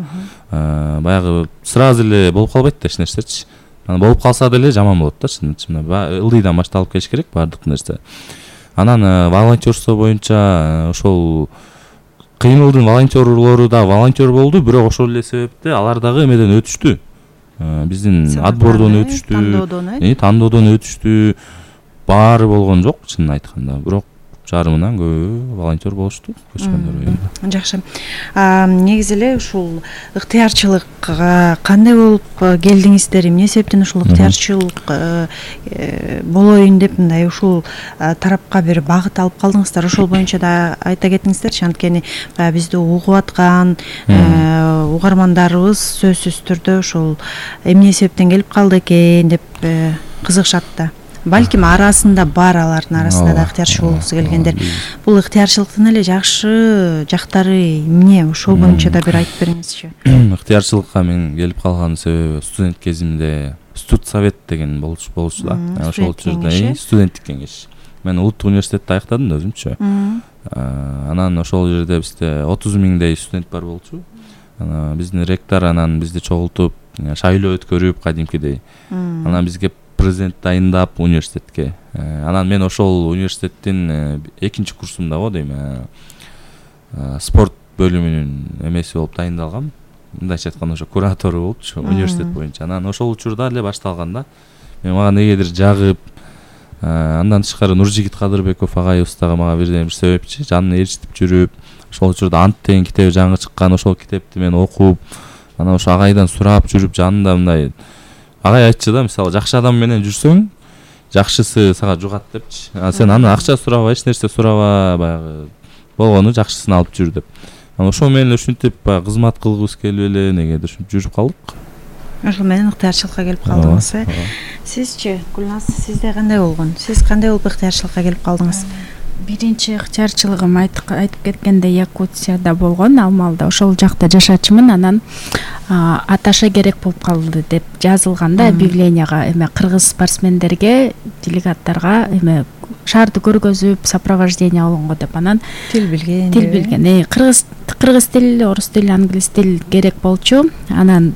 Баягы сразу эле болуп калбайт да эч нерсечи. Анан болуп калса деле жаман болот да, чынында. Ылдыйдан башталып келиш керек баардык нерсе. Анан волонтерство боюнча ошол кыймылдын волонтерлору да волонтер болду, бирок ошол эле себепте алар дагы эмеден өтүштү. Биздин отбордон өтүштү, тандоодон өтүштү. Баары болгон жок, чынын айтканда. Бирок жарымынан көбү волонтер болушту көчмөндөр оюнда. Жакшы. Негизи эле ушул ыктыярчылыкка кандай болуп келдиңиздер? Эмне себептен ушул ыктыярчылык болоюн деп мындай ушул тарапка бир багыт алып калдыңыздар? Ошол боюнча да айта кетиңиздерчи, анткени бизди угуп аткан угармандарыбыз сөзсүз түрдө ушул эмне себептен келип калды экен деп кызыгышат да. Балким арасында бар, алардын арасында да ыктыярчы болгусу келгендер. Бул ыктыярчылыктын эле жакшы жактары эмне? Ошол боюнча да бир айтып бериңизчи. Ыктыярчылыкка мен келип калган себеби студент кезимде студсовет деген болчу да. Ошол жерде студенттик кеңеш. Мен улуттук университетти аяктадым да өзүмчө. Анан ошол жерде бизде отуз миңдей студент бар болчу. Анан биздин ректор анан бизди чогултуп, шайлоо өткөрүп кадимкидей. Анан бизге президент дайындап университетке. Анан мен ошол университеттин экинчи курсумда го дейм, спорт бөлүмүнүн эмеси болуп дайындалгам. Мындайча айтканда ошо куратору болупчу университет боюнча. Анан ошол учурда эле башталганда мен мага негедир жагып, андан тышкары Нуржигит Кадырбеков агайыбыз дагы мага бирден бир себепчи, жанына ээрчитип жүрүп, ошол учурда Ант деген китеби жаңы чыккан, ошол китепти мен окуп, анан ошо агайдан сурап жүрүп, жанында мындай агай айтчу да, мисалы жакшы адам менен жүрсөң, жакшысы сага жугат депчи. А сен аны акча сураба, эч нерсе сураба, баягы болгону жакшысын алып жүр деп. Анан ошол менен ушинтип баягы кызмат кылгыбыз келип эле негедир ушинтип жүрүп калдык. Ошол менен ыктыярчылыкка келип калдыңыз, э? Сизчи, Гүлназ, сизде кандай болгон? Сиз кандай болуп ыктыярчылыкка келип калдыңыз? Биринчи ыктыярчылыгым айтып кеткендей Якутияда болгон, ал маалда ошол жакта жашачумун. Анан Аташа керек болуп калды деп жазылганда объявленияга эме кыргыз спортсмендерге, делегаттарга эме шаарды көргөзүп, сопровождение алганго деп, анан тил билген, тил билген, кыргыз кыргыз тил, орус тил, англис тил керек болчу. Анан